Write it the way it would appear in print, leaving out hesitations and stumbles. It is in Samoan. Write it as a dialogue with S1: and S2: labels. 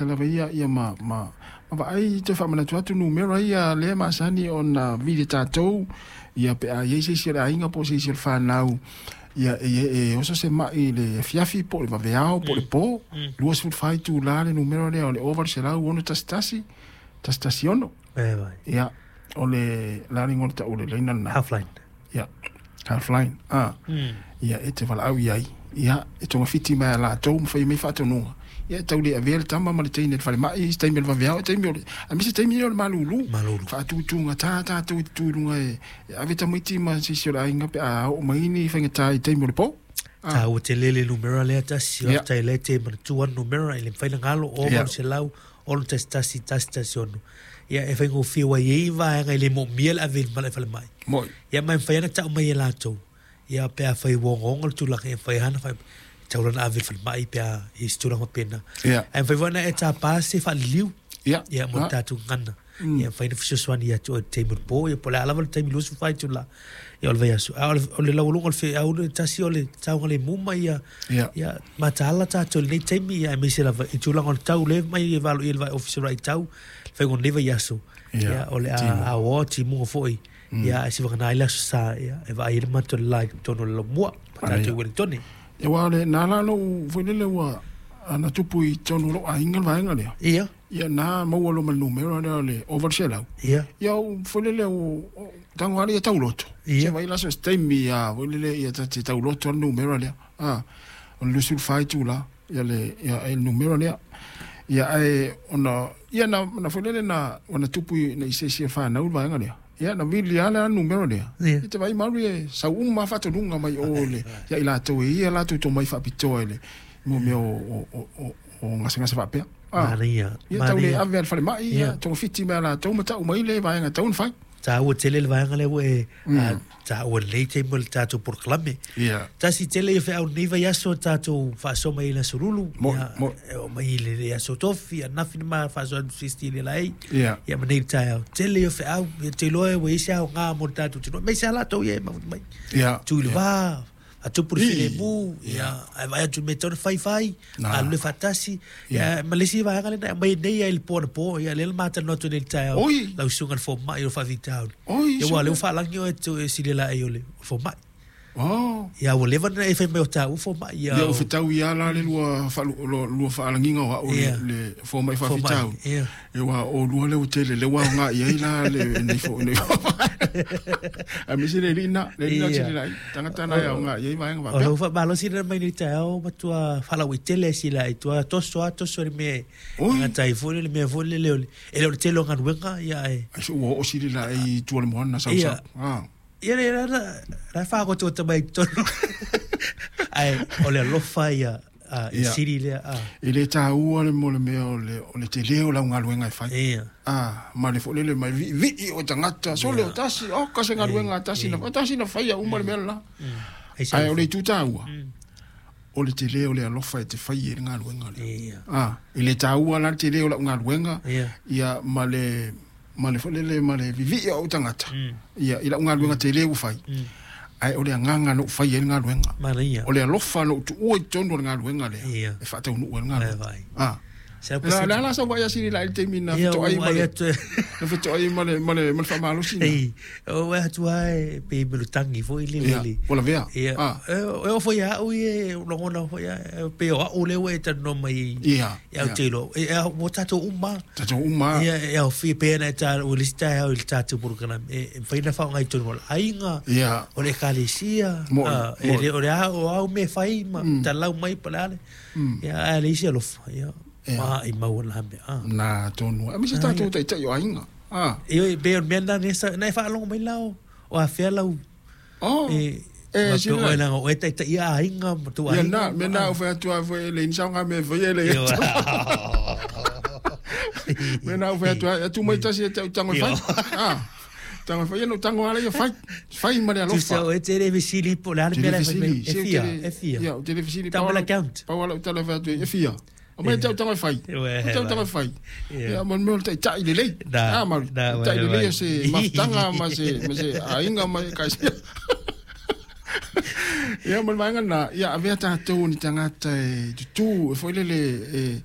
S1: Lava ia ia ma vaai toe faamanatu atu numera ia lea masani ona vili tatou ia pe a i ai se isi o le aiga po o se isi o le fanau ia e oso se mai i le afiafi po o le vaveao po o le po. 24 itula le numera lea o le 0800 61 116.
S2: E vai.
S1: Ia o le la le igoa o le taule laina lena.
S2: Halfline.
S1: Ia Halfline a. Ia e te valaau i ai ia e togafiti mai a latou ma fai mai faatonuga ia e tau le avea le tama ma le teine i le falemai i se taimi o le vaveao, taimi o le aemaise taimi o le malulu.
S2: Malulu.
S1: Faatutugata tatou i te tu i luga e ave tamaiti ma se isi o le aiga pe a oo mai ni faigata i taimi o le po.
S2: Taua tele le numera lea tasi, faafetai lea e te manatua le numera e le mafai ona galo, 0800 611 116. Ia e faigofie ua i ai vaega e le moomia le ave i le falemai.
S1: Moi.
S2: Ia ma e mafai ona tau mai e latou. Ia pe afai ua ogaoga le tulaga, e mafai lava ona fai, e tatau la ona ave i le falemai pe a i ai se tulaga faapena. Ae mafai foi ona e tapa se faaliliu. Ia mo le tatou gagana. Ia mafai ona fesoasoani ia te oe i le taimi o le po, ia po o le a lava le taimi 24 itula ia o le vaiaso. A o le laualuga o le feau le tasi o le saogalemu ma ia ia mataala tatou i lenei taimi, ia aemaise lava i tulaga o le tau lea mai e valoia e le Ofisa o le Vaai Tau, le faiga o lenei vaiaso. Ia o le a aoao timuga foi. Ia ae sivagana ai le Aso Sa, ia e vaai ai le mata o le la i totonu o le laumua ma tatou i Ueligitone.
S1: Ia aua o le na la lou foi lele ua ana tupu i totonu o lou aiga le vaega lea. Ia na maua loa ma le numera lea o le ova le 100. Ia ou foi lele ua tago lava ia tauloto. Se vaai la so se taimi a foi lele ia ta te tauloto le numera lea. A o le 24 itula ia le ia le numera lea. Ia ae ona ia na foi lele na ona tupu i se isi o fanau le vaega lea. Ia na vili lava le numera lea. Ia te vaai malu e sau uma lava faatonuga mai o le ia i latou e ia latou tomai faapitoa i le mo mea o gasegase faapea.
S2: Manaia.
S1: Ia tau le ave a le falemai, ia togafiti mai a latou ma tau mai le vaega tau na fai.
S2: Taua tele le vaega lea ua e taua i lenei taimi o le tatou polokalame. Tasi tele ia feau lenei vaiaso tatou faasoa mai ai i le Aso Lulu.
S1: Moi, moi.
S2: E oo mai i le Aso Tofi, ananafi na ma faasoa atu sisti i le laei. Ia ma nei le taeao. Tele ia feau, ia te iloa ua i ai se aoga mo le tatou atunuu. Aemaise lava latou ia e mafuta mai. Tu i le va, faatupu le filemu, ia, ae vaai atu i le mea e tatau ona fai, fai, galulue faatasi. Ia, ma le isi vaega lea na aumai nei lava i le po anapo, ia lea na ma talanoa atu nei i le taeao, lau susuga i le fomai o le faafitauli. Ia aua o lea ua faalagi oe e sililaei o le fomai. Ia ua leva ona e fai mai o taua fomai.
S1: Ia ua fetaui lava la le lua faalagiga o au le fomai faafitauli. Aua o oulua lea ua tele lea ua aoga i ai la lenei foi nei. Aemaise le alii na, le alii na sililaei. Tagata na e aoga i ai vaega faapea.
S2: O lau faamalosi lena mai nei taeao matua faalauaitele sila i tua toso a toso le mea e gata ai foi le mea foi lele o le e le o le tele o galuega ia ae.
S1: Ai se ua oo sililaei i tua o le moana sau sau.
S2: Ia le la la faaotota mai totonu. Ae o le alofa ia e sili lea.
S1: E le taua le mo le mea o le tele o lau galuega e fai. Ma le foi lele mai viivii o tagata sole o tasi oka se galuega a tasi na tasi na faia uma le mea lena. Ae o le itu taua o le tele o le alofa e te fai ai le galuega lea. E le taua la le tele o lau galuega ia ma le ma le foi lele ma le vivii o ou tagata ia i lau galuega tele ua fai. Ae o le agaga na ou fai ai le galuega. O le alofa na ou tuua i totonu o le galuega lea e faataunuu ai le galuega. O le a la sau vaai a sili la i le taimi na fetoai ma le na fetoai ma le ma le ma le faamalosi na.
S2: O atu lava e pei melutagi foi le le.
S1: Ua lavea.
S2: Ia e oo foi ia au ia lagona foi ia pei o au lea ua e talanoa mai ai. Ia ou te iloa ua tatou uma.
S1: Tatou uma.
S2: Ia e aofia pei ona e taua i le isi taeao i le tatou polokalame e mafai ona faaaoga i totonu o le aiga, o le ekalesia, e le o le a o au mea e fai ma talau mai po o le a le. Ia ae leai se alofa, ia maimau na mea.
S1: Na tonu. Aemaise tatou taitai o aiga.
S2: Ioe, pei o le mea lena na e faalogo mai la o afea lau
S1: Oh,
S2: e
S1: e
S2: sila.
S1: Sila.
S2: Oe leaga o oe taitaia aiga ma tou
S1: Ia
S2: aiga.
S1: na, mea na ou fai atu ai foi e leai ni saoga mea e faia e leai atu. Mea na ou fai atu ai, atu mai tasi e te au tango e fai. Ah, tango e fai, ia na ou tango lava ia fai. Fai ma le alofa.
S2: Tusa oe te le fesili po o le a le mea la e fai mai. E fia, e fia.
S1: Ia, ou te le fesili.
S2: Tau mai le account.
S1: Pau lava lau tala e fai atu ai, e fia. Aumai te au tango e fai.
S2: Ué,
S1: Te au tango e fai. Ia, ma le mea o le taitai lelei.
S2: Da,
S1: Ah, Mauri.
S2: da,
S1: Taitai
S2: ué,
S1: lelei
S2: ué.
S1: o se mafutaga ma se aiga ma ekalesia. Ia, ma le vaega lena, ia avea tatou ni tagata e tutū, e foi lele e